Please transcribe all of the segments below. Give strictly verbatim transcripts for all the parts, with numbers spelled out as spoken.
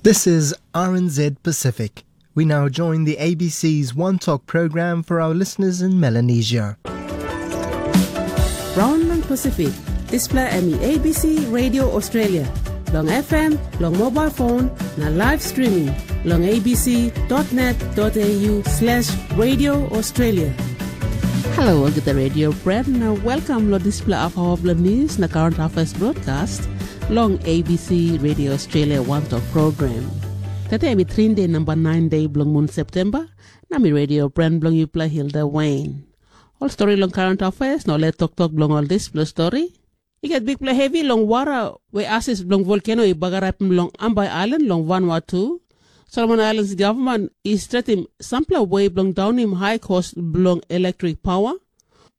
This is R N Z Pacific. We now join the A B C's One Talk program for our listeners in Melanesia. Raun long Pasifik, dispela em i A B C Radio Australia, long F M, long mobile phone, na live streaming long A B C dot net dot A U slash Radio Australia. Halo olgeta radio friend, na welcome lo dispela afawa bilong news na current affairs broadcast long A B C Radio Australia One Talk program. Tete em i Trinde namba nine day bilong mun September, na mi radio friend bilong yupela Hilda Wayne. Ol stori long current affairs na ol toktok bilong ol dispela stori. I gat bikpela hevi long wara we asis bilong volkeno i bagarapim long Ambai Ailan long Vanuatu. Solomon Ailans gavman i stretim sampela we bilong daunim hai kos bilong elektrik paua.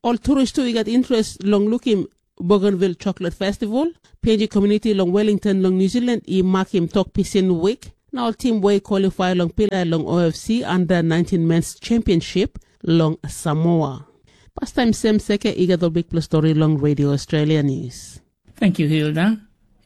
Ol turis tu i gat interes long lukim Bougainville Chocolate Festival. P N G Community long Wellington long New Zealand i makim tok pisin wik. Na ol tim we i kwalifai long pilai long O F C Under nineteen Men's Championship long Samoa. Pastaim sem seke i gat ol bikpela stori long Radio Australia News. Thank you, Hilda.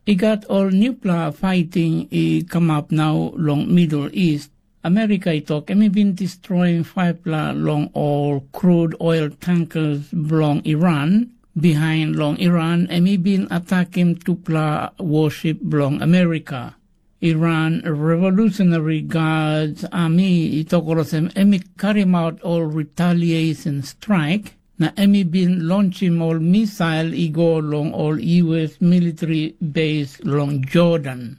I gat ol newpela fighting i kamap nau long Middle East. Amerika i tok em i bin destroyim faipela long ol crude oil tankers bilong Iran. Bihain long Iran em i bin atakim tupela worship bilong Amerika. Iran Revolutionary Guards Army i tok olsem em i karimaut ol retaliation strike, na em i bin lonchim ol misail i go long ol U S military base long Jordan.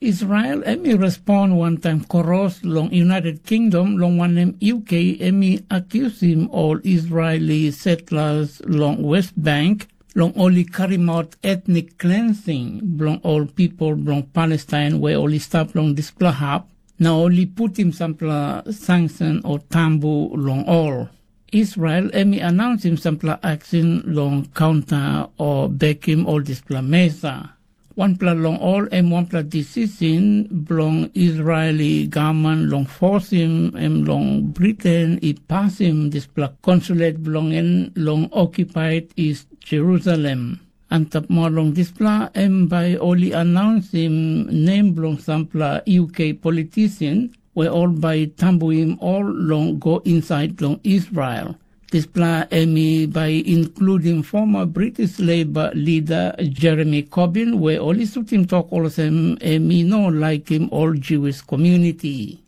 Israel em i respond wantaim koros long United Kingdom, long wanem U K em i akusim ol Israeli settlers long West Bank long ol i karimaut etnik klensing bilong ol pipel bilong Palestain we ol i stap long dispela hap, na ol i putim sampela sanction o tambu long ol. Israel em i anausim sampela aksin long kaunta o bekim ol dispela mesa. Wanpela long ol em wanpela decision bilong Israeli gavman long fosim em long Briten i pasim dispela konsulet bilong en long okupaid East Jerusalem. Antap moa long dispela em bai ol i anausim nem bilong sampela U K politisian we ol bai tambuim ol long go insait long Israel. Dispela em i bai inkludim former British Labour leader Jeremy Corbyn, we ol i sutim tok olsem em i no laikim ol Jewish community.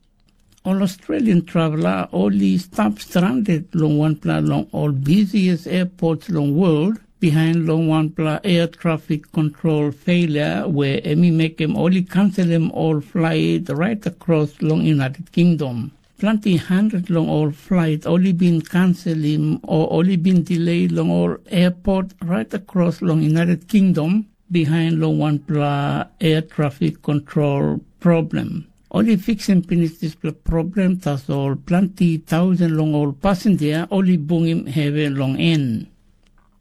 Ol Australian traveler ol i stap stranded long wanpela long ol busiest airports long world, bihain long wanpela air traffic control failure we em i mekim ol i kanselim ol flight right across long United Kingdom. Planti hundred long ol flight ol i bin kanselim o ol i bin delay long ol airport right across long United Kingdom, bihain long wanpela air traffic control problem. Ol i fiksim pinis dispela problem, tasol planti tausen long ol pasinja ol i bungim hevi long en.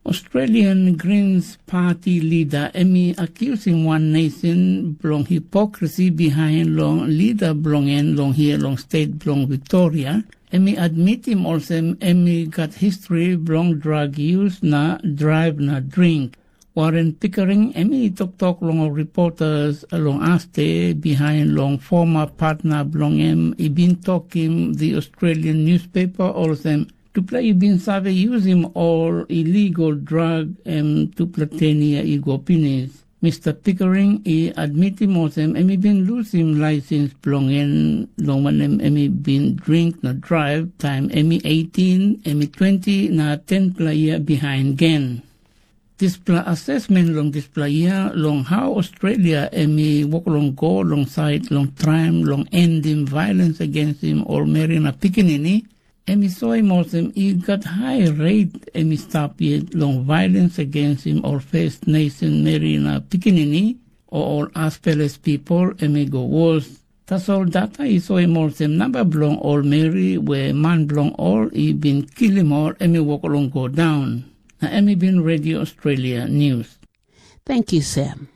Australian Greens Party leader em i akusim wan nation bilong hipokrisi bihain long leader bilong en long hia long state bilong Victoria. Em i admitim olsem em i gat history bilong drug use na drive na drink. Warren Pickering em i toktok long ol reporters long aste bihain long former partner bilong em i bin tokim the Australian newspaper olsem, tupela i bin save yusim ol illegal drug em tupela ten yia i go pinis. Mister Pickering i admitim olsem em i bin lusim laisens bilong en, long wanem em i bin dring na draiv taim em i eighteen, em i twenty na tenpela yia bihain gen. Dispela asesmen long dispela yia long hau Australia em i wok long go long sait long traim long endim violens agensim ol meri na pikinini, em i soim olsem i gat hai reit em i stap yet long violens agensim ol First Nation meri na pikinini, o ol aspeles pipel em i go wos. Tasol data i soim olsem namba bilong ol meri we man bilong ol i bin kilim ol em i wok long go daun. Na em i bin redio Australia News. Tenkyu Sem.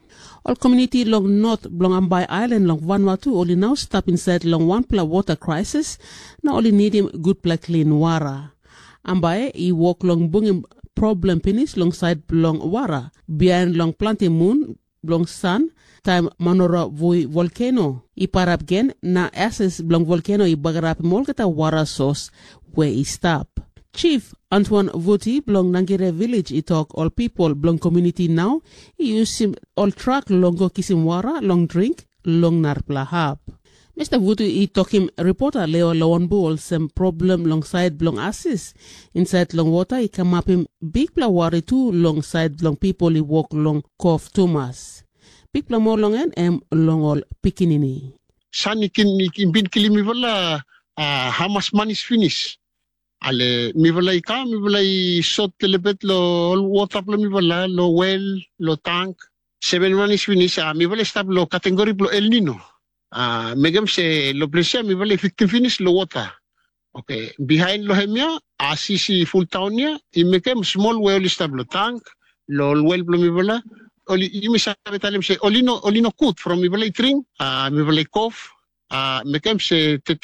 Ol komuniti long not bilong Ambai Ailan long Vanuatu ol i nau stap insait long wanpela wota krisis, na ol i nidim gutpela klin wara. Ambai i wok long bungim problem pinis long sait bilong wara. Bihain long planti mun, bilong san, taim Manora Vui volkeno i pairap gen na ases bilong volkeno i bagarapim olgeta wara sos we i stap. Chief Antoine Vuti bilong Nangire Village i tok ol pipel bilong komuniti nau i yusim ol trak long go kisim wara long dring long narapela hap. Mista Vutu i tokim ripota Leo Lawanbu olsem problem long sait bilong asis insait long wota i kamapim bikpela wari tu long sait bilong pipel i wok long kof tumas. Bikpela moa long en em long ol pikinini. San i kin i kin bin kilim mipela uh, hamas manis finis. Ale mipela i kam, mipela i sot telebet lo ol wota bilong mipela, lo wel, lo tank. Seven manis finis, uh, mipela i stap lo kategori bilong El Nino. Uh, mekem se lo ples ya mipela i fiktim finis lo wota. Oke, bihain lo hem ya, asis i fultaun ya, i mekem smol we ol i stap lo tank, lo ol wel bilong mipela, ol i- yumi save talim se ol i no ol i no kut from mipela i dring, uh, mipela i kof, uh, mekem se